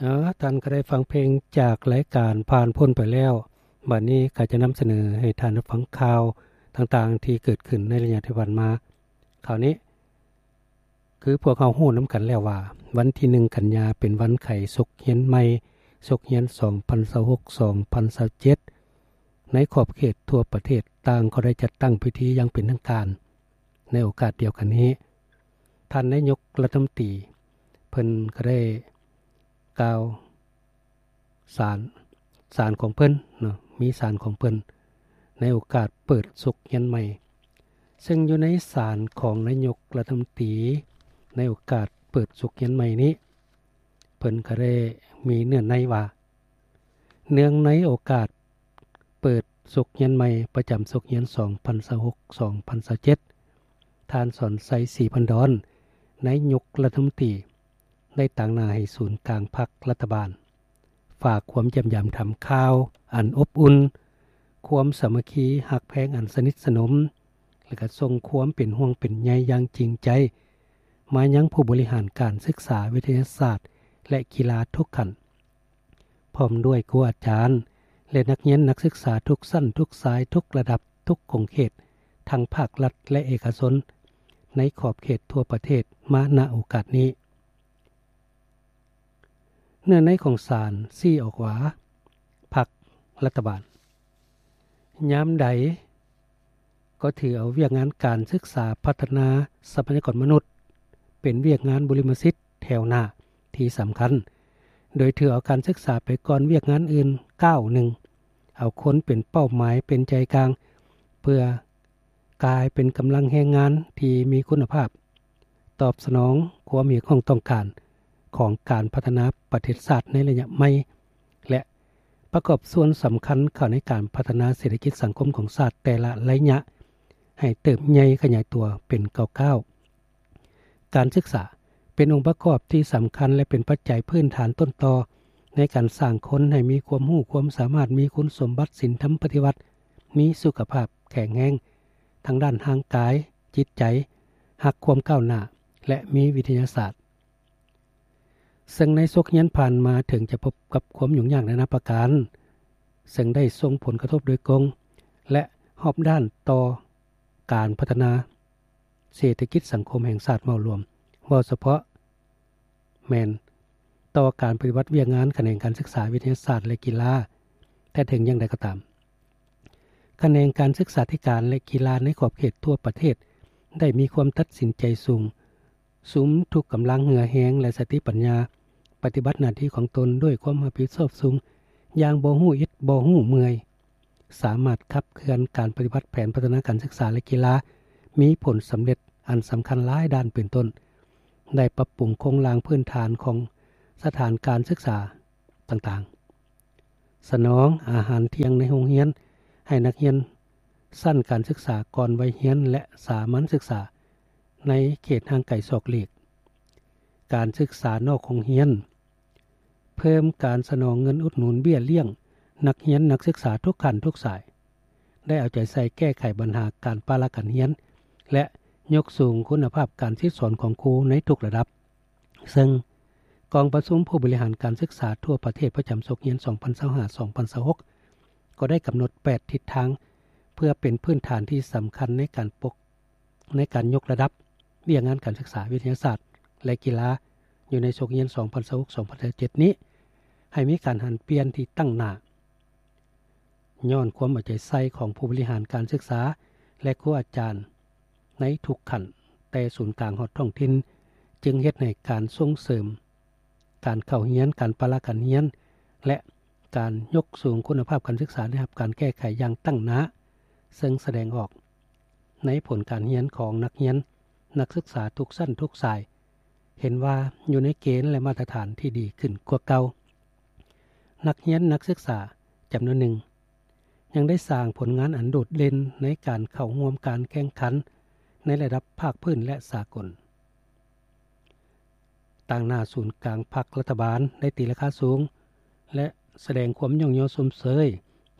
ເອີ ທ່ານກໍໄດ້ຟັງເພງຈາກລາຍການຜ່ານພົ້ນໄປແລ້ວ. ບັດນີ້ກໍຈະນຳສະເໜີໃຫ້ທ່ານໄດ້ຟັງຂ່າວຕ່າງໆທີ່ເກີດຂຶ້ນໃນໄລຍະທີ່ຜ່ານມາ. ຄາວນີ້ຄືພວກເຮົາຮູ້ນຳກັນແລ້ວວ່າ ວັນທີໜຶ່ງກັນຍາເປັນວັນໄຂສົກຮຽນໃໝ່, ສົກຮຽນສອງພັນຊາວຫົກ ສອງພັນຊາວເຈັດ ໃນຂອບເຂດທົ່ວປະເທດຕ່າງກໍໄດ້ຈັດຕັ້ງພິທີຢ່າງເປັນທາງການ. ໃນໂອກາດດຽວກັນນີ້ ທ່ານນາຍົກລັດຖະມົນຕີ ເພິ່ນກໍໄດ້ກ່າວສານ, ສານຂອງເພິ່ນເນາະ, ມີສານຂອງເພິ່ນໃນໂອກາດເປີດສົກຮຽນໃໝ່. ເຊິ່ງຢູ່ໃນສານຂອງນາຍົກລັດຖະມົນຕີໃນໂອກາດເປີດສົກຮຽນໃໝ່ນີ້ ເພິ່ນກໍໄດ້ມີເນື້ອໃນວ່າ ເນື່ອງໃນໂອກາດເປີດສົກຮຽນໃໝ່ປະຈຳສົກຮຽນສອງພັນຊາວຫົກ ສອງພັນຊາວເຈັດ ທ່ານ ສອນໄຊ ສີພັນດອນ ນາຍົກລັດຖະມົນຕີ ໄດ້ຕາງໜ້າໃຫ້ສູນກາງພັກລັດຖະບານ ຝາກຄວາມຢ້ຽມຢາມຖາມຂ່າວອັນອົບອຸ່ນ, ຄວາມສາມັກຄີຮັກແພງອັນສະໜິດສະໜົມ ແລະ ກໍສົ່ງຄວາມເປັນຫ່ວງເປັນໃຍຢ່າງຈິງໃຈ ມາຍັງຜູ້ບໍລິຫານການສຶກສາ, ວິທະຍາສາດ ແລະ ກິລາທຸກຂັ້ນ ພ້ອມດ້ວຍຄູອາຈານ ແລະ ນັກຮຽນນັກສຶກສາທຸກຊັ້ນທຸກສາຍ ທຸກລະດັບ ທຸກຂົງເຂດ ທັງພາກລັດ ແລະ ເອກະຊົນ ໃນຂອບເຂດທົ່ວປະເທດ ມາ ນະ ໂອກາດນີ້. ເນື້ອໃນຂອງສານຊີ້ອອກວ່າ ພັກລັດຖະບານ ຍາມໃດກໍຖືເອົາວຽກງານການສຶກສາ, ພັດທະນາຊັບພະຍາກອນມະນຸດ ເປັນວຽກງານບຸລິມະສິດແຖວໜ້າທີ່ສຳຄັນ, ໂດຍຖືເອົາການສຶກສາໄປກ່ອນວຽກງານອື່ນກ້າວໜຶ່ງ, ເອົາຄົນເປັນເປົ້າໝາຍເປັນໃຈກາງ ເພື່ອ ກາຍເປັນກຳລັງແຮງງານທີ່ມີຄຸນນະພາບ, ຕອບສະໜອງຄວາມຮຽກຮ້ອງຕ້ອງການຂອງການພັດທະນາປະເທດຊາດໃນໄລຍະໃໝ່ ແລະ ປະກອບສ່ວນສຳຄັນເຂົ້າໃນການພັດທະນາເສດຖະກິດສັງຄົມຂອງຊາດແຕ່ລະໄລຍະ ໃຫ້ເຕີບໃຫຍ່ຂະຫຍາຍຕົວເປັນກ້າວໆ. ການສຶກສາເປັນອົງປະກອບທີ່ສຳຄັນ ແລະ ເປັນປັດໄຈພື້ນຖານຕົ້ນຕໍໃນການສ້າງຄົນໃຫ້ມີຄວາມຮູ້ຄວາມສາມາດ, ມີຄຸນສົມບັດສິນທຳປະຕິວັດ, ມີສຸຂະພາບແຂງແຮງ ທາງດ້ານຮ່າງກາຍ, ຈິດໃຈ, ຮັກຄວາມກ້າວໜ້າ ແລະ ມີວິທະຍາສາດ. ເຊິ່ງໃນສົກຮຽນຜ່ານມາເຖິງຈະພົບກັບຄວາມຫຍຸ້ງຍາກນານາປະການ, ເຊິ່ງໄດ້ສົ່ງຜົນກະທົບໂດຍກົງ ແລະ ຮອບດ້ານຕໍ່ການພັດທະນາເສດຖະກິດສັງຄົມແຫ່ງຊາດເວົ້າລວມ, ເວົ້າສະເພາະ ແມ່ນຕໍ່ການປະຕິບັດວຽກງານຂະແໜງການສຶກສາ, ວິທະຍາສາດ ແລະ ກິລາ. ແຕ່ເຖິງຢ່າງໃດກໍຕາມ, ຂະແໜງການສຶກສາທິການ ແລະ ກິລາໃນຂອບເຂດທົ່ວປະເທດ ໄດ້ມີຄວາມຕັດສິນໃຈສູງ, ສຸມທຸກກຳລັງເຫື່ອແຮງ ແລະ ສະຕິປັນຍາ ປະຕິບັດໜ້າທີ່ຂອງຕົນດ້ວຍຄວາມຮັບຜິດຊອບສູງ ຢ່າງບໍ່ຮູ້ອິດບໍ່ຮູ້ເມື່ອຍ. ສາມາດຂັບເຄື່ອນການປະຕິບັດແຜນພັດທະນາການສຶກສາ ແລະ ກິລາ ມີຜົນສຳເລັດອັນສຳຄັນຫຼາຍດ້ານ ເປັນຕົ້ນ ໄດ້ປັບປຸງໂຄງລ່າງພື້ນຖານຂອງສະຖານການສຶກສາຕ່າງໆ, ສະໜອງອາຫານທ່ຽງໃນໂຮງຮຽນໃຫ້ນັກຮຽນຊັ້ນການສຶກສາກ່ອນໄວຮຽນ ແລະ ສາມັນສຶກສາໃນເຂດຫ່າງໄກສອກຫຼີກ, ການສຶກສານອກໂຮງຮຽນ, ເພີ່ມການສະໜອງເງິນອຸດໜູນເບ້ຍລ້ຽງນັກຮຽນນັກສຶກສາທຸກຂັ້ນທຸກສາຍ, ໄດ້ເອົາໃຈໃສ່ແກ້ໄຂບັນຫາການປະລະການຮຽນ ແລະ ຍົກສູງຄຸນນະພາບການສິດສອນຂອງຄູໃນທຸກລະດັບ. ເຊິ່ງກອງປະຊຸມຜູ້ບໍລິຫານການສຶກສາທົ່ວປະເທດປະຈຳສົກຮຽນສອງພັນຊາວຫ້າ ສອງພັນຊາວຫົກ ກໍໄດ້ກຳນົດແປດທິດທາງ ເພື່ອເປັນພື້ນຖານທີ່ສຳຄັນໃນການປົກ ໃນການຍົກລະດັບວຽກງານການສຶກສາ, ວິທະຍາສາດ ແລະ ກິລາ ຢູ່ໃນສົກຮຽນສອງພັນຊາວຫົກ ສອງພັນຊາວເຈັດນີ້ ໃຫ້ມີການຫັນປ່ຽນທີ່ຕັ້ງໜ້າ. ຍ້ອນຄວາມເອົາໃຈໃສ່ຂອງຜູ້ບໍລິຫານການສຶກສາ ແລະ ຄູອາຈານໃນທຸກຂັ້ນ, ແຕ່ສູນກາງຮອດທ້ອງຖິ່ນ, ຈຶ່ງເຮັດໃຫ້ການສົ່ງເສີມ ການເຂົ້າຮຽນ, ການປະລະການຮຽນ ແລະ ການຍົກສູງຄຸນນະພາບການສຶກສາໄດ້ຮັບການແກ້ໄຂຢ່າງຕັ້ງໜ້າ, ເຊິ່ງສະແດງອອກໃນຜົນການຮຽນຂອງນັກຮຽນ, ນັກສຶກສາທຸກຊັ້ນທຸກສາຍ, ເຫັນວ່າຢູ່ໃນເກນ ແລະ ມາດຕະຖານທີ່ດີຂຶ້ນກວ່າເກົ່າ. ນັກຮຽນ, ນັກສຶກສາຈຳນວນໜຶ່ງ ຍັງໄດ້ສ້າງຜົນງານອັນໂດດເດັ່ນໃນການເຂົ້າຮ່ວມການແຂ່ງຂັນໃນລະດັບພາກພື້ນ ແລະ ສາກົນ. ຕາງໜ້າສູນກາງພັກລັດຖະບານໄດ້ຕີລາຄາສູງ ແລະ ສະແດງຄວາມຍ້ອງຍໍຊົມເຊີຍ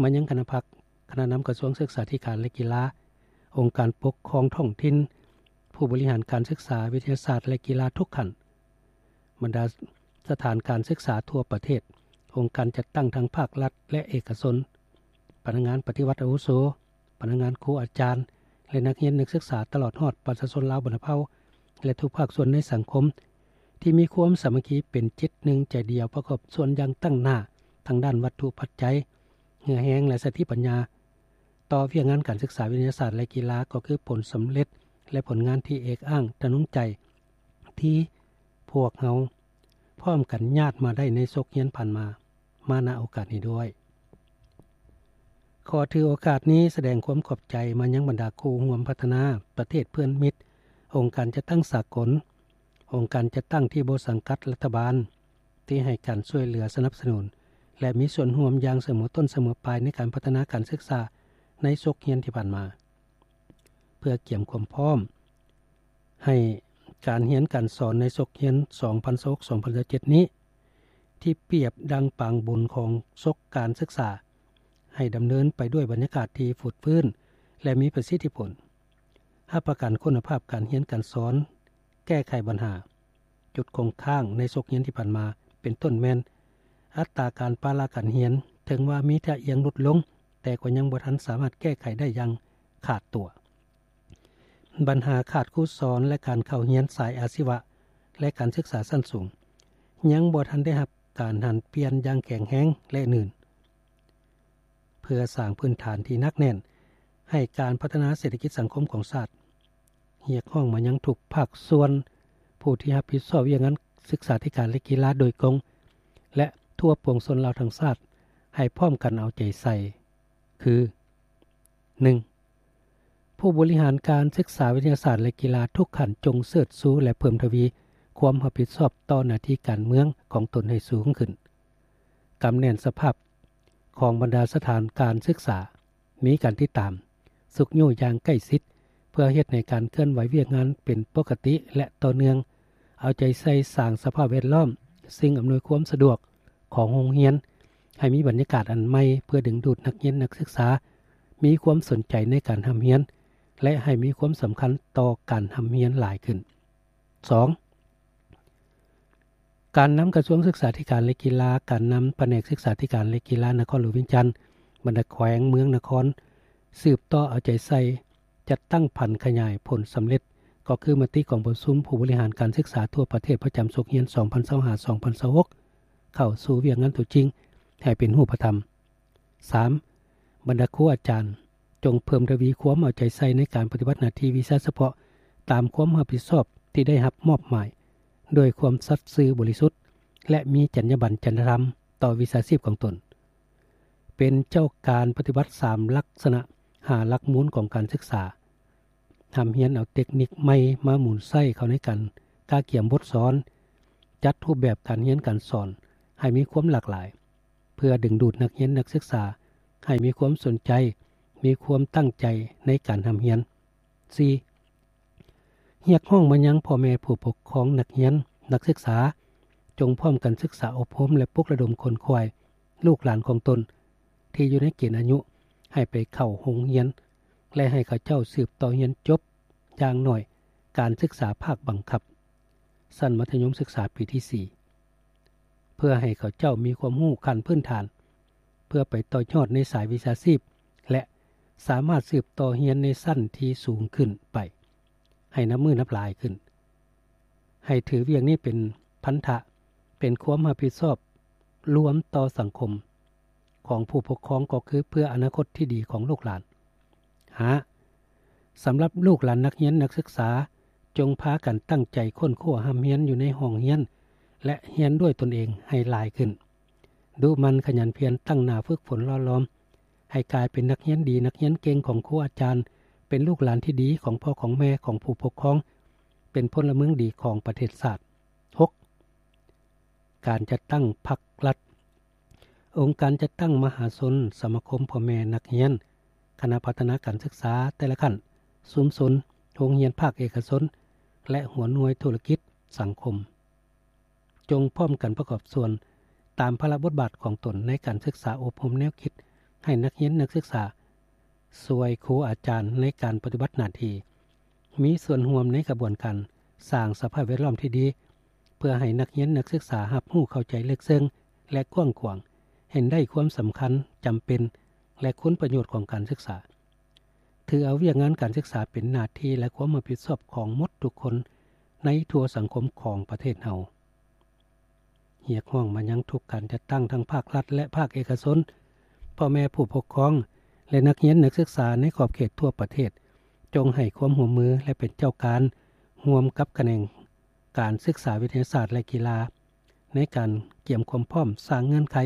ມາຍັງຄະນະພັກ, ຄະນະນຳກະຊວງສຶກສາທິການ ແລະ ກິລາ, ອົງການປົກຄອງທ້ອງຖິ່ນ, ຜູ້ບໍລິຫານການສຶກສາ, ວິທະຍາສາດ ແລະ ກິລາທຸກຂັ້ນ, ບັນດາ ສະຖານການສຶກສາທົ່ວປະເທດ, ອົງການຈັດຕັ້ງທັງພາກລັດ ແລະ ເອກະຊົນ, ພະນັກງານປະຕິວັດອາວຸໂສ, ພະນັກງານ, ຄູອາຈານ ແລະ ນັກຮຽນນັກສຶກສາ ຕະຫຼອດຮອດປະຊາຊົນລາວບັນດາເຜົ່າ ແລະ ທຸກພາກສ່ວນໃນສັງຄົມ ທີ່ມີຄວາມສາມັກຄີເປັນຈິດໜຶ່ງໃຈດຽວ ປະກອບສ່ວນຢ່າງຕັ້ງໜ້າ ທັງດ້ານວັດຖຸປັດໄຈ, ເຫື່ອແຮງ ແລະ ສະຕິປັນຍາ ຕໍ່ວຽກງານການສຶກສາວິທະຍາສາດ ແລະ ກິລາ ກໍຄືຜົນສຳເລັດ ແລະ ຜົນງານທີ່ເອກອ້າງທະນົງໃຈ ທີ່ພວກເຮົາພ້ອມກັນຍາດມາໄດ້ໃນສົກຮຽນຜ່ານມາ ມາ ນະ ໂອກາດນີ້ດ້ວຍ. ຂໍຖືໂອກາດນີ້ສະແດງຄວາມຂອບໃຈມາຍັງບັນດາຄູ່ຮ່ວມພັດທະນາປະເທດເພື່ອນມິດ, ອົງການຈັດຕັ້ງສາກົນ, ອົງການຈັດຕັ້ງທີ່ບໍ່ສັງກັດລັດຖະບານ ທີ່ໃຫ້ການຊ່ວຍເຫຼືອສະໜັບສະໜູນ ແລະ ມີສ່ວນຮ່ວມຢ່າງສະເໝີຕົ້ນສະເໝີປາຍໃນການພັດທະນາການສຶກສາໃນສົກຮຽນທີ່ຜ່ານມາ. ເພື່ອກຽມຄວາມພ້ອມໃຫ້ການຮຽນການສອນໃນສົກຮຽນສອງພັນຊາວຫົກ ສອງພັນຊາວເຈັດນີ້ ທີ່ປຽບດັ່ງປາງບຸນຂອງສົກການສຶກສາ ໃຫ້ດຳເນີນໄປດ້ວຍບັນຍາກາດທີ່ຟົດຟື້ນ ແລະ ມີປະສິດທິຜົນ, ຮັບປະກັນຄຸນນະພາບການຮຽນການສອນ, ແກ້ໄຂບັນຫາ, ຈຸດຄົງຄ້າງໃນສົກຮຽນທີ່ຜ່ານມາ ເປັນຕົ້ນແມ່ນ ອັດຕາການປະລະການຮຽນ ເຖິງວ່າມີທ່າອ່ຽງຫຼຸດລົງ, ແຕ່ກໍຍັງບໍ່ທັນສາມາດແກ້ໄຂໄດ້ຢ່າງຂາດຕົວ. ບັນຫາຂາດຄູສອນ ແລະ ການເຂົ້າຮຽນສາຍອາຊີວະ ແລະ ການສຶກສາຊັ້ນສູງ ຍັງບໍ່ທັນໄດ້ຮັບການຫັນປ່ຽນຢ່າງແຂງແຮງ ແລະ ໜືນ. ເພື່ອສ້າງພື້ນຖານທີ່ໜັກແໜ້ນໃຫ້ການພັດທະນາເສດຖະກິດສັງຄົມຂອງຊາດ, ຮຽກຮ້ອງມາຍັງທຸກພາກສ່ວນ ຜູ້ທີ່ຮັບຜິດຊອບວຽກງານສຶກສາທິການ ແລະ ກິລາໂດຍກົງ ແລະ ທົ່ວປວງຊົນລາວທັງຊາດ ໃຫ້ພ້ອມກັນເອົາໃຈໃສ່ ຄື: ໜຶ່ງ ຜູ້ບໍລິຫານການສຶກສາວິທະຍາສາດ ແລະ ກິລາທຸກຂັ້ນ ຈົ່ງເສີດຊູ ແລະ ເພີ່ມທະວີຄວາມຮັບຜິດຊອບຕໍ່ໜ້າທີ່ການເມືອງຂອງຕົນໃຫ້ສູງຂຶ້ນ, ກຳແໜ້ນສະພາບຂອງບັນດາສະຖານການສຶກສາ, ມີການຕິດຕາມ, ຊຸກຍູ້ຢ່າງໃກ້ຊິດ ເພື່ອເຮັດໃຫ້ການເຄື່ອນໄຫວວຽກງານເປັນປົກກະຕິ ແລະ ຕໍ່ເນື່ອງ, ເອົາໃຈໃສ່ສ້າງສະພາບແວດລ້ອມ, ສິ່ງອຳນວຍຄວາມສະດວກຂອງໂຮງຮຽນ ໃຫ້ມີບັນຍາກາດອັນໃໝ່ ເພື່ອດຶງດູດນັກຮຽນນັກສຶກສາ ມີຄວາມສົນໃຈໃນການຮ່ຳຮຽນ ແລະ ໃຫ້ມີຄວາມສຳຄັນຕໍ່ການຮ່ຳຮຽນຫຼາຍຂຶ້ນ. ສອງ ການນຳກະຊວງສຶກສາທິການ ແລະ ກິລາ, ການນຳພະແນກສຶກສາທິການ ແລະ ກິລານະຄອນຫຼວງວຽງຈັນ, ບັນດາແຂວງເມືອງນະຄອນ ສືບຕໍ່ເອົາໃຈໃສ່ ຈັດຕັ້ງຜັນຂະຫຍາຍຜົນສຳເລັດ ກໍຄືມະຕິກອງປະຊຸມຜູ້ບໍລິຫານການສຶກສາທົ່ວປະເທດປະຈຳສົກຮຽນສອງພັນຊາວຫ້າ ສອງພັນຊາວຫົກ ເຂົ້າສູ່ວຽກງານຕົວຈິງໃຫ້ເປັນຮູບປະທຳ. ສາມ ບັນດາຄູອາຈານ ຈົ່ງເພີ່ມທະວີຄວາມເອົາໃຈໃສ່ໃນການປະຕິບັດໜ້າທີ່ວິຊາສະເພາະຕາມຄວາມຮັບຜິດຊອບທີ່ໄດ້ຮັບມອບໝາຍ ດ້ວຍຄວາມສັດຊື່ບໍລິສຸດ ແລະ ມີຈັນຍາບັນຈັນຍະທຳຕໍ່ວິຊາຊີບຂອງຕົນ. ເປັນເຈົ້າການປະຕິບັດສາມລັກສະນະ ຫ້າຫຼັກມູນຂອງການສຶກສາ, ຮ່ຳຮຽນເອົາເຕັກນິກໃໝ່ມາໝູນໃຊ້ເຂົ້າໃນການກະກຽມບົດສອນ, ຈັດຮູບແບບການຮຽນການສອນໃຫ້ມີຄວາມຫຼາກຫຼາຍ ເພື່ອດຶງດູດນັກຮຽນນັກສຶກສາໃຫ້ມີຄວາມສົນໃຈ, ມີຄວາມຕັ້ງໃຈໃນການຮ່ຳຮຽນ. ສີ່ ຮຽກຮ້ອງມາຍັງພໍ່ແມ່ຜູ້ປົກຄອງນັກຮຽນນັກສຶກສາ ຈົ່ງພ້ອມກັນສຶກສາອົບຮົມ ແລະ ປຸກລະດົມຂົນຂວາຍລູກຫຼານຂອງຕົນທີ່ຢູ່ໃນເກນອາຍຸ ໃຫ້ໄປເຂົ້າໂຮງຮຽນ ແລະ ໃຫ້ເຂົາເຈົ້າສືບຕໍ່ຮຽນຈົບຢ່າງໜ້ອຍການສຶກສາພາກບັງຄັບ ຊັ້ນມັດທະຍົມສຶກສາປີທີສີ່ ເພື່ອໃຫ້ເຂົາເຈົ້າມີຄວາມຮູ້ຂັ້ນພື້ນຖານ ເພື່ອໄປຕໍ່ຍອດໃນສາຍວິຊາຊີບ ແລະ ສາມາດສືບຕໍ່ຮຽນໃນຊັ້ນທີ່ສູງຂຶ້ນໄປ ໃຫ້ນັບມື້ນັບຫຼາຍຂຶ້ນ. ໃຫ້ຖືວຽກນີ້ເປັນພັນທະ, ເປັນຄວາມຮັບຜິດຊອບລວມຕໍ່ສັງຄົມຂອງຜູ້ປົກຄອງ ກໍຄືເພື່ອອະນາຄົດທີ່ດີຂອງລູກຫຼານ. ຫ້າ ສຳລັບລູກຫຼານນັກຮຽນນັກສຶກສາ, ຈົ່ງພາກັນຕັ້ງໃຈຄົ້ນຄວ້າຮ່ຳຮຽນຢູ່ໃນຫ້ອງຮຽນ ແລະ ຮຽນດ້ວຍຕົນເອງໃຫ້ຫຼາຍຂຶ້ນ. ດຸໝັ່ນຂະຫຍັນພຽນ, ຕັ້ງໜ້າຝຶກຝົນຫຼໍ່ຫຼອມ ໃຫ້ກາຍເປັນນັກຮຽນດີ, ນັກຮຽນເກັ່ງຂອງຄູອາຈານ, ເປັນລູກຫຼານທີ່ດີຂອງພໍ່ຂອງແມ່, ຂອງຜູ້ປົກຄອງ, ເປັນພົນລະເມືອງດີຂອງປະເທດຊາດ. ຫົກ ການຈັດຕັ້ງພັກລັດ, ອົງການຈັດຕັ້ງມະຫາຊົນ, ສະມາຄົມພໍ່ແມ່ນັກຮຽນ, ຄະນະພັດທະນາການສຶກສາແຕ່ລະຂັ້ນ, ຊຸມຊົນ, ໂຮງຮຽນພາກເອກະຊົນ ແລະ ຫົວໜ່ວຍທຸລະກິດສັງຄົມ. ຈົ່ງພ້ອມກັນປະກອບສ່ວນຕາມພາລະບົດບາດຂອງຕົນໃນການສຶກສາອົບຮົມແນວຄິດໃຫ້ນັກຮຽນນັກສຶກສາ, ຊ່ວຍຄູອາຈານໃນການປະຕິບັດໜ້າທີ່, ມີສ່ວນຮ່ວມໃນຂະບວນການສ້າງສະພາບແວດລ້ອມທີ່ດີ ເ ພື່ອໃຫ້ນັກຮຽນນັກສຶກສາຮັບຮູ້ເຂົ້າໃຈເລິກເຊິ່ງ ແລະ ກວ້າງຂວາງ, ເຫັນໄດ້ຄວາມສຳຄັນ, ຈຳເປັນ ແລະ ຄຸນປະໂຫຍດຂອງການສຶກສາ. ຖືເອົາວຽກງານການສຶກສາເປັນໜ້າທີ່ ແລະ ຄວາມຮັບຜິດຊອບຂອງໝົດທຸກຄົນໃນທົ່ວສັງຄົມຂອງປະເທດເຮົາ. ຮຽກຮ້ອງມາຍັງທຸກການຈັດຕັ້ງທັງພາກລັດ ແລະ ພາກເອກະຊົນ, ພໍ່ແມ່ຜູ້ປົກຄອງ ແລະ ນັກຮຽນນັກສຶກສາໃນຂອບເຂດທົ່ວປະເທດ, ຈົ່ງໃຫ້ຄວາມຮ່ວມມື ແລະ ເປັນເຈົ້າການຮ່ວມກັບຂະແໜງການສຶກສາວິທະຍາສາດ ແລະ ກິລາ ໃນການກຽມຄວາມພ້ອມ, ສ້າງເງື່ອນໄຂ,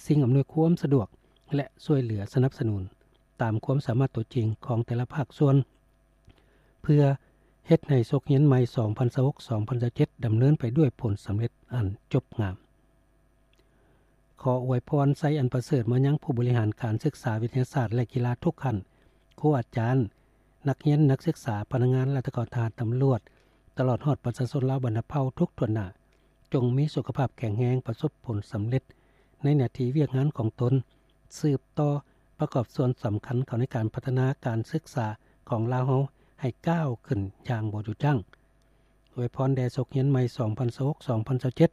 ສິ່ງອຳນວຍຄວາມສະດວກ ແລະ ຊ່ວຍເຫຼືອສະໜັບສະໜູນຕາມຄວາມສາມາດຕົວຈິງຂອງແຕ່ລະພາກສ່ວນ ເພື່ອເຮັດໃຫ້ສົກຮຽນໃໝ່ ສອງພັນຊາວຫົກ ສອງພັນຊາວເຈັດ ດຳເນີນໄປດ້ວຍຜົນສຳເລັດອັນຈົບງາມ. ຂໍອວຍພອນໄຊອັນປະເສີດມາຍັງຜູ້ບໍລິຫານການສຶກສາວິທະຍາສາດ ແລະ ກິລາທຸກຂັ້ນ, ຄູອາຈານ, ນັກຮຽນນັກສຶກສາ, ພະນັກງານລັດຖະກອນ, ທະຫານ, ຕຳຫຼວດ, ຕະຫຼອດຮອດປະຊາຊົນລາວບັນດາເຜົ່າທຸກຖ້ວນໜ້າ, ຈົ່ງມີສຸຂະພາບແຂງແຮງ, ປະສົບຜົນສຳເລັດໃນໜ້າທີ່ວຽກງານຂອງຕົນ, ສືບຕໍ່ປະກອບສ່ວນສຳຄັນເຂົ້າໃນການພັດທະນາການສຶກສາຂອງລາວເຮົາໃຫ້ກ້າວຂຶ້ນຢ່າງບໍ່ຢຸດຢັ້ງ. ອວຍພອນແດ່ສົກຮຽນໃໝ່ ສອງພັນຊາວຫົກ ສອງພັນຊາວເຈັດ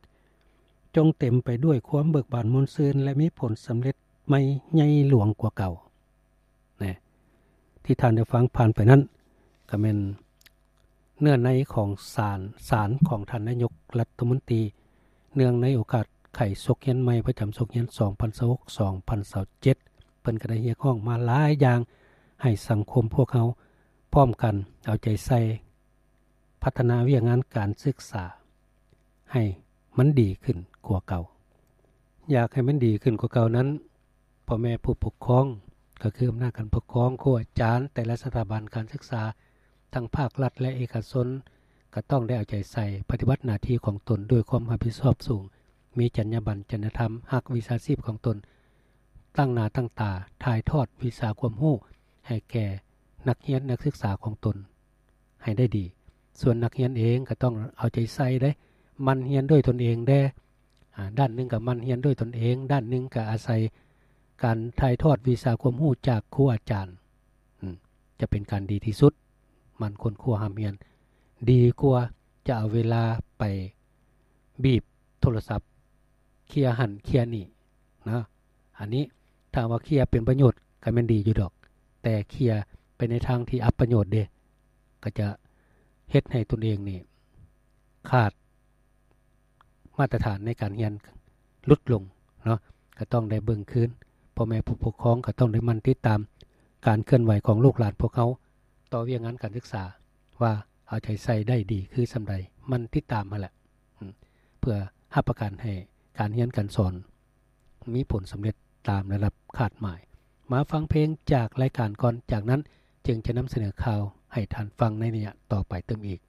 ຈົ່ງເຕັມໄປດ້ວຍຄວາມເບີກບານມ່ວນຊື່ນ ແລະ ມີຜົນສຳເລັດໃໝ່ໃຫຍ່ຫຼວງກວ່າເກົ່າ. ນະ ທີ່ທ່ານໄດ້ຟັງຜ່ານໄປນັ້ນ ກໍແມ່ນເນື້ອໃນຂອງສານ ສານຂອງທ່ານນາຍົກລັດຖະມົນຕີ ເນື່ອງໃນໂອກາດໄຂສົກຮຽນໃໝ່ປະຈຳສົກຮຽນ ສອງພັນຊາວຫົກ ສອງພັນຊາວເຈັດ ເພິ່ນກໍໄດ້ຮຽກຮ້ອງມາຫຼາຍຢ່າງ ໃຫ້ສັງຄົມພວກເຮົາພ້ອມກັນເອົາໃຈໃສ່ ພັດທະນາວຽກງານການສຶກສາໃຫ້ມັນດີຂຶ້ນກວ່າເກົ່າ. ຢາກໃຫ້ມັນດີຂຶ້ນກວ່າເກົ່ານັ້ນ, ພໍ່ແມ່ຜູ້ປົກຄອງ ກໍຄືອຳນາດການປົກຄອງ, ຄູອາຈານ, ແຕ່ລະສະຖາບັນການສຶກສາ ທັງພາກລັດ ແລະ ເອກະຊົນ ກໍຕ້ອງໄດ້ເອົາໃຈໃສ່ ປະຕິບັດໜ້າທີ່ຂອງຕົນດ້ວຍຄວາມຮັບຜິດຊອບສູງ, ມີຈັນຍາບັນ, ຈັນຍະທຳ, ຮັກວິຊາຊີບຂອງຕົນ, ຕັ້ງໜ້າຕັ້ງຕາຖ່າຍທອດວິຊາຄວາມຮູ້ໃຫ້ແກ່ນັກຮຽນນັກສຶກສາຂອງຕົນ ໃຫ້ໄດ້ດີ. ສ່ວນນັກຮຽນເອງກໍຕ້ອງເອົາໃຈໃສ່ເດ້, ໝັ່ນຮຽນດ້ວຍຕົນເອງແດ່. ອາ, ດ້ານໜຶ່ງກໍໝັ່ນຮຽນດ້ວຍຕົນເອງ, ດ້ານໜຶ່ງກໍອາໄສການຖ່າຍທອດວິຊາຄວາມຮູ້ຈາກຄູອາຈານ. ອາ, ຈະເປັນການດີທີ່ສຸດ. ໝັ່ນຄົ້ນຄວ້າຮ່ຳຮຽນ ດີກວ່າຈະເອົາເວລາໄປບີບໂທລະສັບ ເຄຍຫັ້ນເຄຍນີ້ນະ. ອັນນີ້ຖ້າວ່າເຄຍເປັນປະໂຫຍດກໍແມ່ນດີຢູ່ດອກ, ແຕ່ເຄຍໄປໃນທາງທີ່ອັບປະໂຫຍດເດ້, ກໍຈະເຮັດໃຫ້ຕົນເອງນີ້ຂາດມາດຕະຖານໃນການຮຽນຫຼຸດລົງເນາະ. ກໍຕ້ອງໄດ້ເບິ່ງຄືນ, ພໍ່ແມ່ຜູ້ປົກຄອງກໍຕ້ອງໄດ້ໝັ່ນຕິດຕາມການເຄື່ອນໄຫວຂອງລູກຫຼານພວກເຮົາຕໍ່ວຽກງານການສຶກສາ ວ່າເອົາໃຈໃສ່ໄດ້ດີຄືສ່ຳໃດ, ໝັ່ນຕິດຕາມຫັ້ນແຫຼະ ເພື່ອຮັບປະກັນໃຫ້ການຮຽນການສອນມີຜົນສຳເລັດຕາມລະດັບຄາດໝາຍ. ມາຟັງເພງຈາກລາຍການກ່ອນ, ຈາກນັ້ນຈຶ່ງຈະນຳສະເໜີຂ່າວໃຫ້ທ່ານຟັງໃນໄລຍະຕໍ່ໄປຕື່ມອີກ.